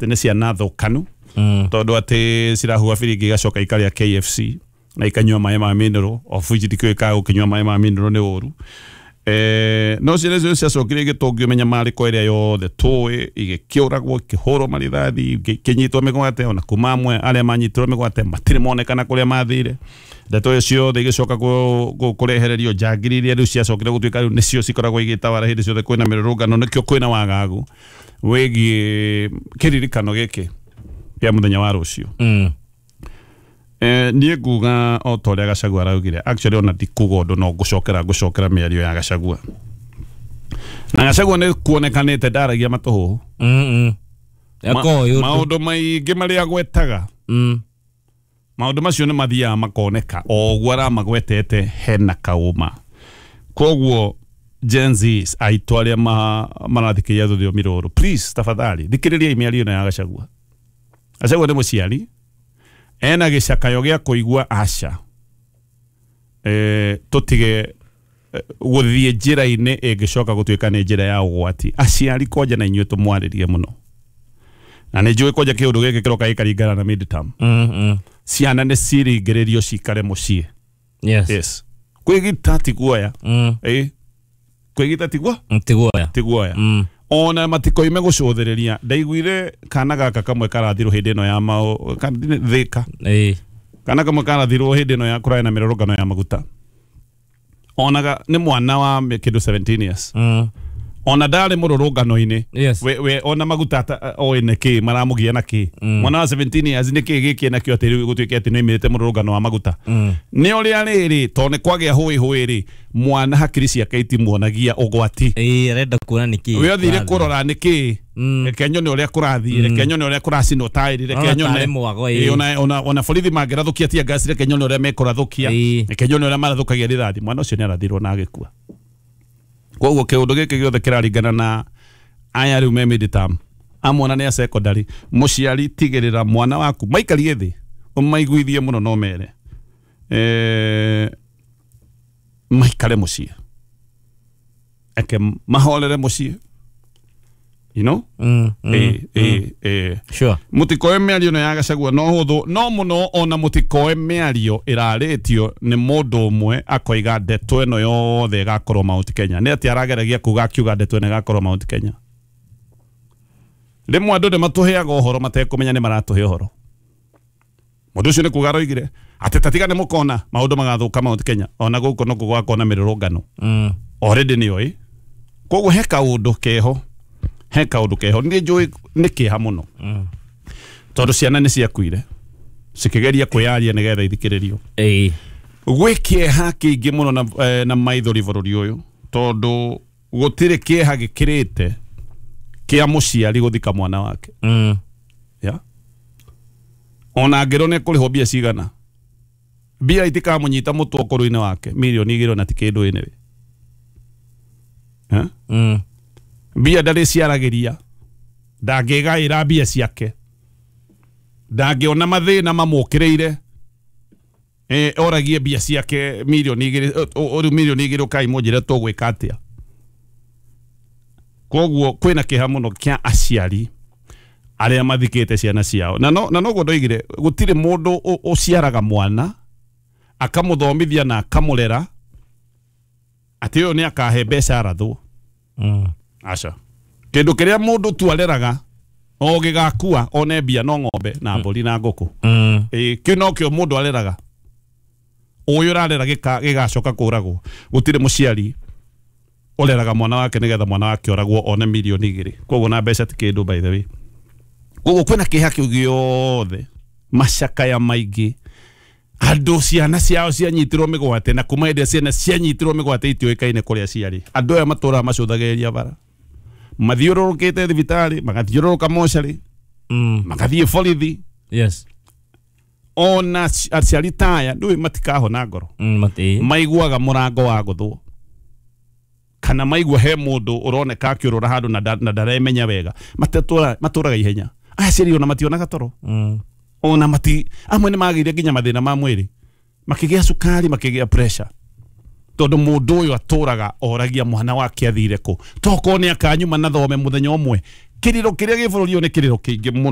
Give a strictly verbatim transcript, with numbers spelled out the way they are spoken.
Atĩ nĩ ciana thũkanu, Mm. tondũ atĩ cirahuha biringi, igacoka ikarĩa K F C na ikanyua maĩ ma mineral, of which ndikĩũĩ kana gũkĩnyua maĩ ma mineral nĩ ũru. Eh, no ciana icio ciacokire igĩtũngio mĩnyamarĩko ĩrĩa yothe tũĩ, igĩkĩũragwo, ikĩhũrwo marithathi, ikĩnyitwo mĩgwate. Ona kuma amwe arĩa manyitirwo mĩgwate matirĩ monekana kũrĩa mathire. Ndeto ĩyo ciothe igĩcoka kũ- kũ- kũrehererio njangiri iria rĩu ciacokire gũtuĩka rĩu nĩcio cikoragwo igĩtawara hĩndĩ ciothe kwĩna mĩrũrũngano. Nĩkĩo kwĩna wagagu wĩgiĩ kĩririkano gĩkĩ kĩa mũthenya wa rũciũ. Mm. Eh, niĩ nguga o ta ũrĩa Gachagua araugire. Actually, ona ndikuga ũndũ, no ngũcokera ngũcokera mĩario ya Gachagua, na Gachagua nĩ kuonekanĩte ndaragia matũhũhũ. Mm. Mm. Yakoĩ ũndũ. Maũndũ maingĩ marĩa agwetaga, Mm. maũndũ macio nĩ mathiaga makoneka o ũguo aramagwetete hena kaũma. Koguo Gen Zs aitũ arĩa ma, marathikĩrĩria rũthiomi rũrũ, please, tafadhali thikĩrĩriai mĩario ĩno ya Gachagua. Gachagua nĩ mũciari ena gĩcakayo gĩa kũigua aca e, tũtige eh, gũthiĩ njĩra-inĩ ĩngĩcoka gũtuĩka nĩ njĩra ya ũgwati. Aciari kwanja na inyuĩ tũmwarĩrie mũno, na nĩ njũĩ kwanja kĩũndũ gĩkĩ kĩroka gĩkaringana na midterm. Mm. Mm. Ciana nĩ ciringĩrĩrio cikare mũciĩ. Yes. Yes, kwĩgita ti guoya. Mm. Ĩ, kwĩgita ti guo Ti guoya. Ti guoya. Mm. Ona matikoime gũcũthĩrĩria. Ndaiguire kana gaka kamwe karathirwo hĩndĩ ĩno ya mao ka- thĩka. Ĩĩ. Kana kamwe karathirwo hĩndĩ ĩno ya kũrarĩ na mĩrũrũngano ya maguta, onaga nĩ mwana wa kĩndũ seventeen years. Mm. Ona ndarĩ mũrũrũngano-inĩ. Yes. we, we ona maguta ata- oĩ nĩ kĩ maramũgia na kĩ. Mm. Mwana wa seventeen years, nĩ kĩ gĩkĩ nakĩo atĩ rĩu gũtuĩke atĩ nĩ oimĩrĩte mũrũrũngano wa maguta? Mm. Nĩ ũrĩa rĩrĩ, tondũ nĩ kwagĩa hũĩ hũĩ rĩ, mwana hakiri ciake itimuonagia ũgwati. Ĩĩ, arenda kuona nĩ kĩ. We athire kũrathiĩ. kũrora nĩ kĩ. Mm. Reke nyone ũrĩa kũrathiĩ, reke nyone ũrĩa kũracinwo taĩri, reke Ona nyone tarĩ mwago, ĩĩ. Ĩĩ, ona ona ona borithi mangĩrathũkia tear gas, reke nyone ũrĩa mekũrathũkia. Ĩĩ. Reke nyone ũrĩa marathũkagia rithathi. Mwana ũcio nĩ arathirwo na agĩkua. Koguo kĩũndũ gĩkĩ gĩothe kĩraringana na aya rĩu me midterm, amwana nĩ a secondary. Mũciari, tigĩrĩra mwana waku maikarie thĩ, ũmaiguithie mũno, no mere eh, maikare mũciĩ, eke mahorere mũciĩ you know Mm. Mm. ĩ ĩ ĩ Sure. Mũtikoe mĩario ĩno ya Gachagua no hũthũ no mũno, ona mũtikoe mĩario ĩrarĩtio nĩ mũndũ ũmwe akoiga ndeto ĩno yothe ĩgakorwo Mount Kenya. Nĩ atĩ arageragia kuga akiuga ndeto ĩno ĩgakorwo Mount Kenya? Rĩmwe andũ nĩ matũheaga ũhoro matekũmenya nĩ maratũhe ũhoro. Mũndũ ũcio nĩ kuga aroigire atĩ tatiga nĩ mũkona maũndũ magathũka Mount Kenya, ona gũkũ no gũgakona mĩrũrũngano. Mm. Already nĩ oĩ. Koguo he kaũndũ keho, he kaũndũ keho. Nĩ njũĩ nĩ kĩeha mũno, Mm. tondũ ciana nĩ ciakuire cikĩgeria kwĩyaria nĩgetha ithikĩrĩrio. Ĩĩ. Gwĩ kĩeha kĩingĩ mũno na, eh, na maithori bũrũri ũyũ, tondũ gũtirĩ kĩeha gĩkĩrĩte kĩa mũciari gũthika mwana wake. Mm. Ya ona angĩrwo nĩ kũrĩhwo mbia cigana, mbia itikamũnyita mũtwe ũkũrũ-inĩ wake. Mirioni igĩrĩ ona ti kĩndũ anyway. Eh? Mm. Mbia ndarĩ ciaragĩria, ndangĩgaĩra mbia ciake, ndangĩona mathĩna mamũkĩrĩire eh, oragie mbia ciake mirioni igĩrĩ. Rĩu mirioni igĩrĩ ũkai mũnjĩre tũgwĩka atĩa? Koguo kwĩna kĩeha mũno kĩa aciari arĩa mathikĩte ciana ciao. Na no na noguo ndoigire, gũtirĩ mũndũ ũ- ũciaraga mwana akamũthomithia na akamũrera atĩ ũyũ nĩ akahe mbeca arathwo. Mm. Aca, kĩndũ kĩrĩa mũndũ tu areraga o gĩgakua one mbia no ng'ombe na mbũri na ngũkũ. Mm. Ĩ, kĩu nokĩo mũndũ areraga. Ũyũ ũrarera gĩka- gĩgacoka kũragwo. Gũtirĩ mũciari ũreraga mwana wake nĩgetha mwana wake oragwo one mirioni igĩrĩ. Koguo na mbeca ti kĩndũ, by the way. Koguo kwĩna kĩeha kĩu gĩothe, macakaya maingĩ, andũ ciana ciao cianyitirwo mĩgwate, na kuma hĩndĩ ĩrĩa ciana cianyitirwo mĩgwate itiũĩkaine kũrĩa ciarĩ. Andũ aya matũraga macũthagĩrĩria bara, mathiũrũrũkĩte thibitarĩ, magathiũrũrũka mocarĩ, Mm. magathiĩ borithi. Yes. Ona ci- aciari ta aya ndũĩ matikahona ngoro. Mm, mati. Maiguaga mũrango wa gũthwo kana maigua he mũndũ ũroneka akĩũrũra handũ na nda- na ndaremenya wega, matetũra matũraga ihenya. Aya aciari ona mationaga toro. Mm. Ona mati amwe nĩ magĩire nginya mathĩna ma mwĩrĩ, makĩgĩa cukari, makĩgĩa pressure, tondũ mũndũ ũyũ atũraga oragia mwana wake athire kũ, tokorwo nĩ akanyuma na thome mũthenya ũmwe. Kĩrĩro kĩrĩa gĩ bũrũri ũyũ nĩ kĩrĩro kĩingĩ mũno.